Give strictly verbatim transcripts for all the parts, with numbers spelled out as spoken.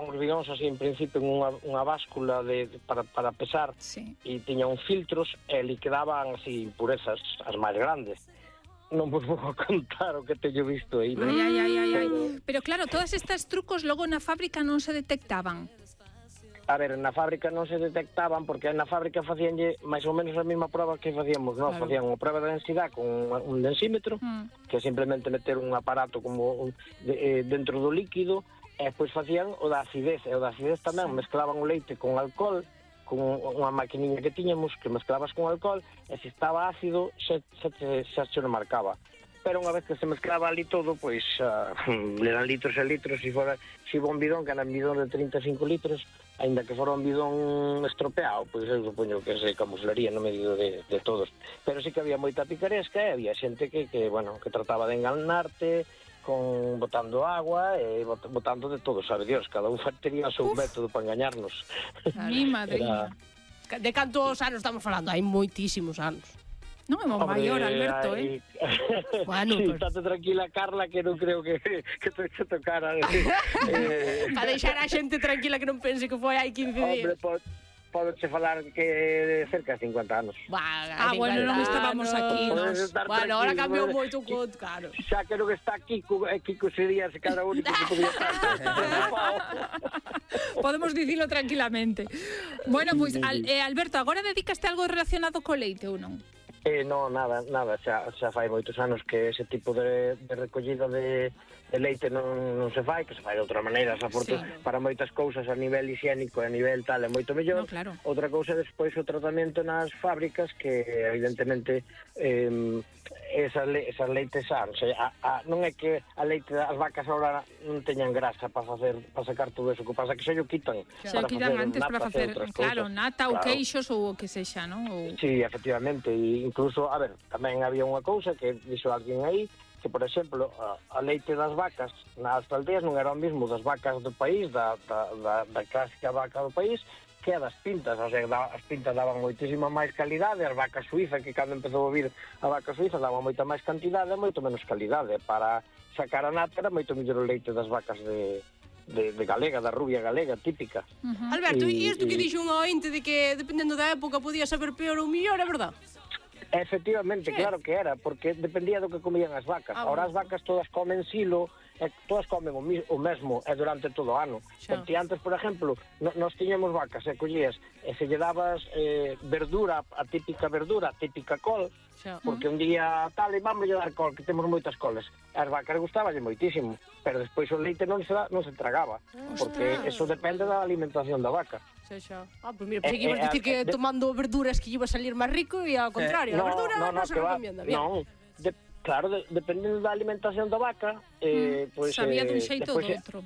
pesaban os bidóns así en principio en unha, unha báscula de, para, para pesar, sí. E tiñan filtros e li quedaban así impurezas, as máis grandes. Non vos vou contar o que teño visto aí, ¿no? Ai, ai, ai, ai, ai. Pero, Pero claro, todas estas trucos logo na fábrica non se detectaban. a ver, na fábrica non se detectaban porque na fábrica facíanlle máis ou menos a mesma prova que facíamos nós, Claro. facían unha prova de densidade con un, un densímetro, Mm. que é simplemente meter un aparato como un, de, eh, dentro do líquido, e despois facían o da acidez, e o da acidez tamén Sí. mezclaban o leite con alcohol, con unha maquiniña que tiñamos que mezclabas con alcohol, e se estaba ácido xa, xa, xa, xa se non marcaba. Pero unha vez que se mezclaba ali todo, pois uh, eran litros e litros, se fora se iba un bidón, que era un bidón de trinta e cinco litros, aínda que fora un bidón estropeado, pois eu supoño que se camuflaría no medio de, de todos. Pero sí que había moita picaresca, e había xente que, que, bueno, que trataba de enganarte, con botando agua e bot, botando de todo, sabe Dios, cada un tería o seu Uf. método para engañarnos. Mi Era... madriña. De cantos anos estamos falando? Hai moitísimos anos. Non é mo maior, Alberto, eh? Bueno, sí, pues... estate tranquila, Carla, que non creo que, que te se tocara. eh, Para deixar a xente tranquila que non pense que foi hai quince hombre, días. po, podoche falar que de cerca de cincuenta anos. Bah, Ah, bueno, non estábamos aquí, Podes nos. estar Bueno, ahora tranquilo, cambiou podes- moito o conto, claro. Xa que non está Kiko, e Kiko sería se cada único que podía estar. Podemos dicilo tranquilamente. Bueno, pois, pues, al, eh, Alberto, agora dedicaste algo relacionado co leite ou non? Eh, no, nada, nada, xa, xa fai moitos anos que ese tipo de, de recollida de, de leite non, non se fai, que se fai de outra maneira, xa porque Sí. para moitas cousas a nivel higiénico e a nivel tal é moito mellor. No, claro. Outra cousa despois o tratamento nas fábricas que evidentemente eh, esas, le, esas leites san, o sea, a, a, non é que a leite das vacas ahora non teñan grasa para facer para sacar todo eso, que pasa que se yo quitan Se para quitan facer antes para natas e facer, outras claro, cousas. nata ou Claro. queixos ou o que sexa, non? Ou... Sí, efectivamente, e incluso, a ver, tamén había unha cousa que dixo alguén aí, que, por exemplo, a, a leite das vacas nas aldeas non era o mismo das vacas do país, da, da, da, da clásica vaca do país, que a das pintas, o sea, da, as pintas daban moitísima máis calidade, as vacas suizas, que cando empezou a vir a vaca suiza daban moita máis cantidade e moito menos calidade. Para sacar a nata era moito mellor o leite das vacas de, de, de galega, da rubia galega, típica. Uh-huh. Alberto, E- e isto que e- dixo un ointe de que dependendo da época podía saber peor ou mellor, é verdad? Efectivamente, Sí. claro que era, porque dependía do que comían as vacas. Ah, Ahora as bueno. vacas todas comen silo, e todas comen o, mi, o mesmo e durante todo o ano. Xa. Porque antes, por exemplo, no, nos tiñamos vacas e collías e se lle dabas eh, verdura, a típica verdura, a típica col, Xa. porque un día tal, e vamos a dar col, que temos moitas coles. As vacas gustaballe moitísimo, pero despois o leite non se, da, non se tragaba, porque Ostras. eso depende da alimentación da vaca. Xa, xa. Ah, pues mira, pensei Eh, que ibas eh, dicir que eh, de- tomando verduras que iba a salir máis rico e ao contrario, a verdura non, se que va- recomienda, bien. non, de, claro, de, dependendo da alimentación da vaca, eh, Mm, pois, sabía eh, dun xeito ou despois, do outro.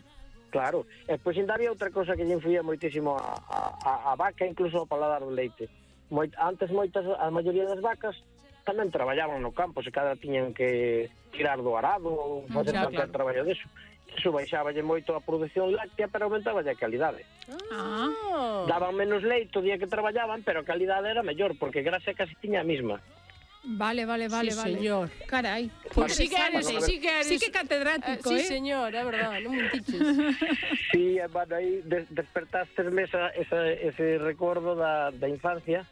Claro, e pois ainda había outra cosa que lle influía moitísimo a, a, a vaca, incluso ao paladar do leite. Moit, antes moitas, a maioría das vacas tamén traballaban no campo, se cada tiñan que tirar do arado ou facer xa, calquer claro. traballo deso. Iso baixaballe moito a produción láctea, pero aumentaballe a calidade. Ah, Daban menos leite o día que traballaban, pero a calidade era mellor, porque grasa casi tiña a mesma. vale, vale, vale, Sí, vale. señor. Carai. Pues sí que eres, Interesante. sí que eres. Sí que catedrático, eh, eh. Sí, señor, é verdad, non mentiches. Sí, e, bueno, aí des despertastes-me esa, esa, ese recordo da, da infancia,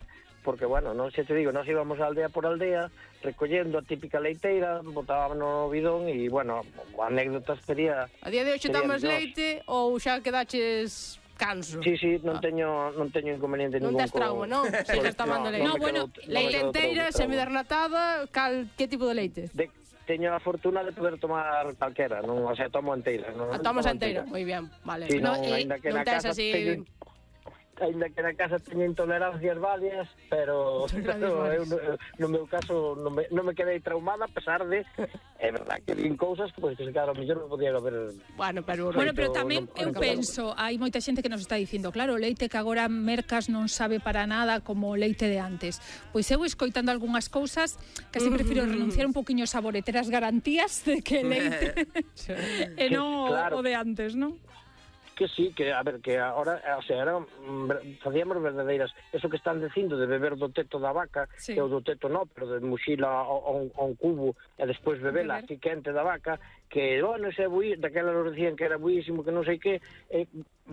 porque, bueno, non se te digo, nós íbamos aldea por aldea, recollendo a típica leiteira, botábamos no bidón e, bueno, anécdotas sería... A día de hoxe serían tomas dos. leite ou xa quedaches canso? Sí, sí, non Ah. teño non teño inconveniente Non ningún. tes trauma, non? Sigues tomando leite. No, me bueno, quedou- Leite me quedou enteira, trauma. semidernatada, cal, que tipo de leite? De, teño a fortuna de poder tomar calquera, non, o sea, tomo enteira. Non, A tomas tomo enteira, moi ben, vale. Sí, No, non, eh, ainda que non na tes casa así- teño, ainda que na casa teño intolerancias varias, pero, pero eu, no, no meu caso non me, non me quedei traumada a pesar de, é verdad que vin cousas que, pues, que se quedaron mellor non podía haber. Bueno, pero... Bueno, pero Moito- tamén non- eu non- penso, hai moita xente que nos está dicindo, claro, o leite que agora mercas non sabe para nada como o leite de antes. Pois eu escoitando algunhas cousas, casi prefiro renunciar un poquinho a sabor e ter as garantías de que leite e non o- Claro. o de antes, non? Que sí, que a ver, que ahora, o sea, era, mm, facíamos verdadeiras, eso que están dicindo de beber do teto da vaca, Sí. e o do teto no, pero de muxila a, a, un, a un cubo e despois bebela Beber. así quente da vaca, que, bueno, ese bui, daquela nos decían que era buísimo, que non sei que, eh,